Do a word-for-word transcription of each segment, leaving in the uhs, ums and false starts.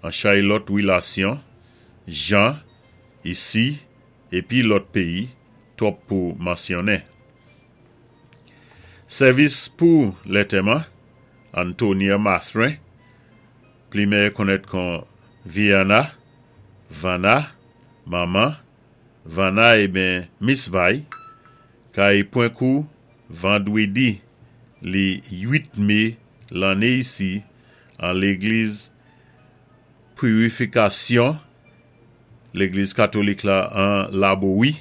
An chay lòt wilasyon, jan, isi, épi lòt péyi, twòp pou mansyonnen. Sèvis pou lantèman, Antonia Mathurin, pli mèyè konnèt kon Viana, Vanna, Manman, Vanna ébyen Miss Vay, kay pwan kou vandwédi li uit mé lanné isi an légliz Pirifikasyon, légliz katolik la an Labowi,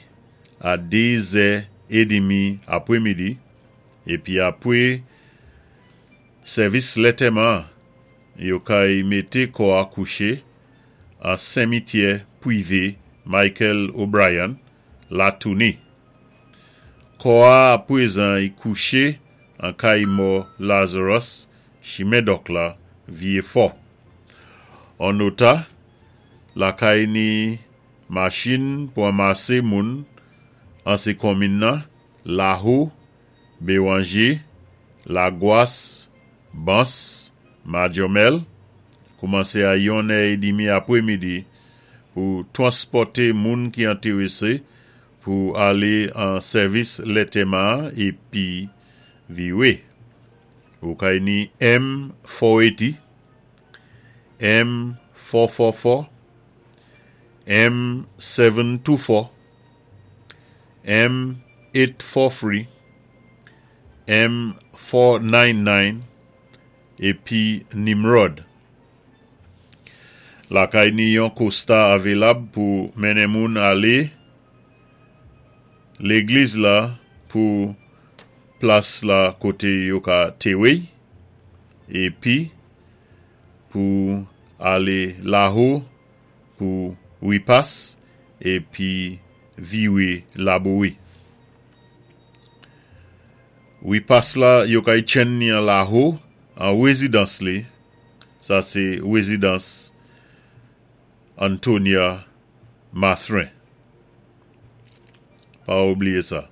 a dé zè édmi apwémidi, épi apwé sèvis lantèman, yo kay mété kò-a kouché an simityè pwivé Michael O'Brien, Latouni. Kò-a apwézan i kouché an kay mò Lazarus, chimen Dòk la, Vyé Fò. An nota, lakay ni machin pou anmasé moun an sé konmin-nan, Laho, Béwanjé, Lagwas, Bans, Madyomèl, koumansé a yon è édmi apwémidi pou twanspòté moun ki entèrésé pou alé an sèvis lantèman épi viwé. Ou kay ni M four eighty, M four four four, M seven two four, M eight four three, M four nine nine épi Nimrod. Lakay ni yon Costa avilab pou mennen moun alé légliz la pou plas la koté yo ka téwé épi pou alé Laho pou wipas épi viwé Labowi. Wipas la yo kay tjenn ni an Laho an wézidans li, sa sé wézidans Antonia Mathurin. Pa oubliyé sa.